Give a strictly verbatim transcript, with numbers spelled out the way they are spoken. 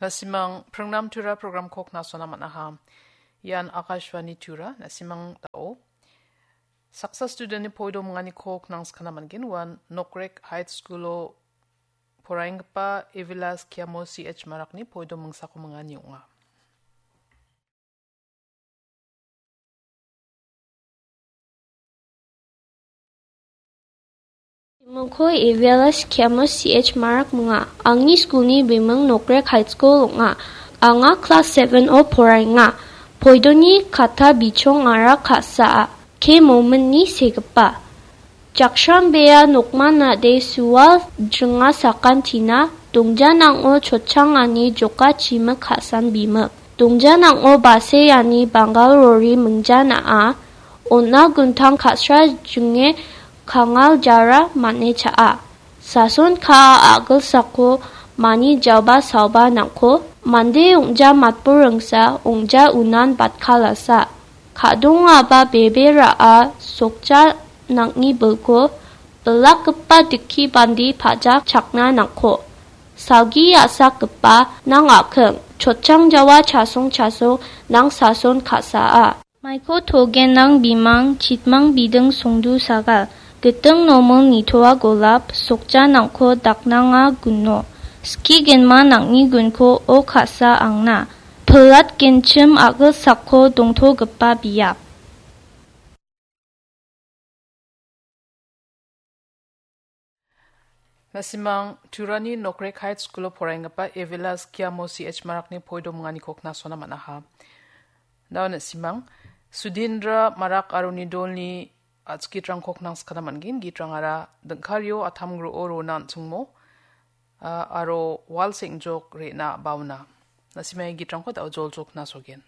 Na·simang Pringnam Tura programko knasona man·aha. Ian Akashvani Tura, na·simang dao. Saksa studentni poido minganiko knangskana man·gen, uan Nokrek High School-o poraienggipa Evilas Kiamo C H Marakni poido mingsako mingani ong·a. Bimingko Evilas Kiamo C H Marak minga. Angni skulni biming Nokrek High School ong·a. Anga klas seven-o poraenga. Poidoni kata bichongara ka·saa. K Mominni segipa. Jakshambea nokman nade sual jringa sakantina, dongjanang·o chotchangani joka chimik ka·san bimik. Dongjanang·o baseani Bangal rori mingja na·a, on·a guntang ka·sra jinge kangal jara man·e cha·a. Sason ka·a a·gilsako mani jaba saoba nang·ko, mande ong·ja matburingsa ong·ja unan batkalasa. Ka·dongaba bebe ra·a sokja nang·ni bilko bilakgipa dikki bandi pajak chakna nang·ko. Salgi a·sakgipa nang a·king, chotchang jawa chasong chasong nang sason ka·saa. Maiko togen nang bimang, chitmang biding songdu sagal, giting noming nitoa golap, sokja nang·ko daknanga guno. Ski genma nang·ni gunko o ka·sa angna. Pilat genchim a·gilsako dongtogipa biap. Na·simang Turani Nokrek High School-o poraienggipa Evilas Kiamo C H Marakni poido minganiko knasona man·aha. Dao na·simang, Sudindra Marak aro nidolni a·chik gitrangko knangskana man·gen. Gitrangara dingkario atam gro·o rona an·chingmo, a, aro wal seng·jok re·na baona. Na·simang gitrangko dao joljok knasogen.